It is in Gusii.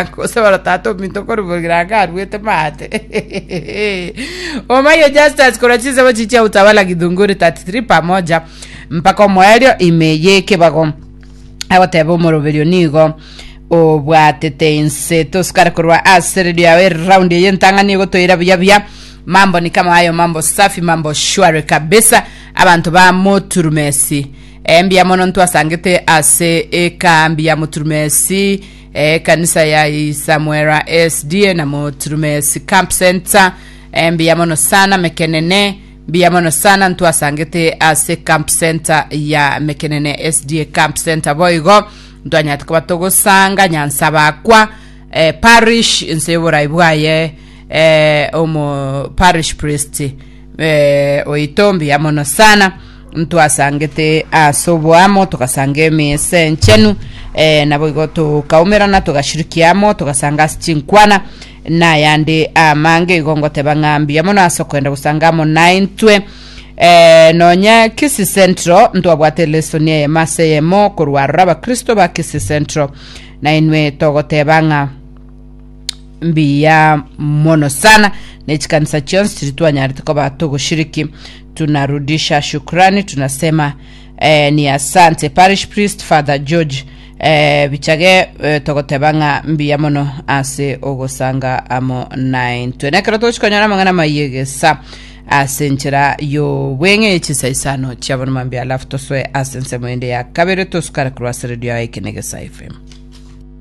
Bogirango gose bono tata ominto korwa Bogirango arwete maate. Omayo Justus korwa chinsemo chichia Utawala Githunguri 33 pamoja mpaka omoerio ime y'ekebago agoteba omoroberio nigo obwatete inse tosukare korwa ase redio yawe eraundi eye entang'ani egotoira buya buya mambo ni kama hayo mambo safi mambo shwari kabisa abanto ba moturumesi Eh, mbuya mono ntwasangete ase ekambi ya Muturumesi, eh, ekanisa ya Isamwera SDA na Muturumesi Camp Center. Eh, mbuya mono sana Mekenene, mbuya mono sana ntwasangete ase Camp Center ya Mekenene SDA Camp Center boigo ntwanyarete koba togosanga Nyansabakwa eh, parish inse y'oborai bwaye eh, omo parish priest eh, oito mbuya mono sana Ntwasangete ase oboamo, togasanga emesa enchenu, eh, naboigo tokaumerana, togashirikia amo, togasanga ase chinkwana, na ayande amange. Igo ngoteba ng'a mbuya mono ase okoenda gosanga amo naintwe. Eh, nonya Kisii Central ntwabwate lesson eyemo ase eyemo korwa aroro abakristo ba Kisii Central, nainwe togoteba ng'a mbuya mono sana ne chikanisa chionsi chiri twanyarete koba togoshiriki tunarudisha shukrani tunasema eh, ni asante parish priest father george eh, bichage eh, togoteba ng'a mbuya mono ase ogosanga amo naintwe nekero togochikonyora amang'ana mayegesa ase enchera y'obweng'e ye chinsa isano chia bono mambia alafu tosoe ase ensemo ende ya kabere tosukare korwa ase redio yaye Ekenegesa FM.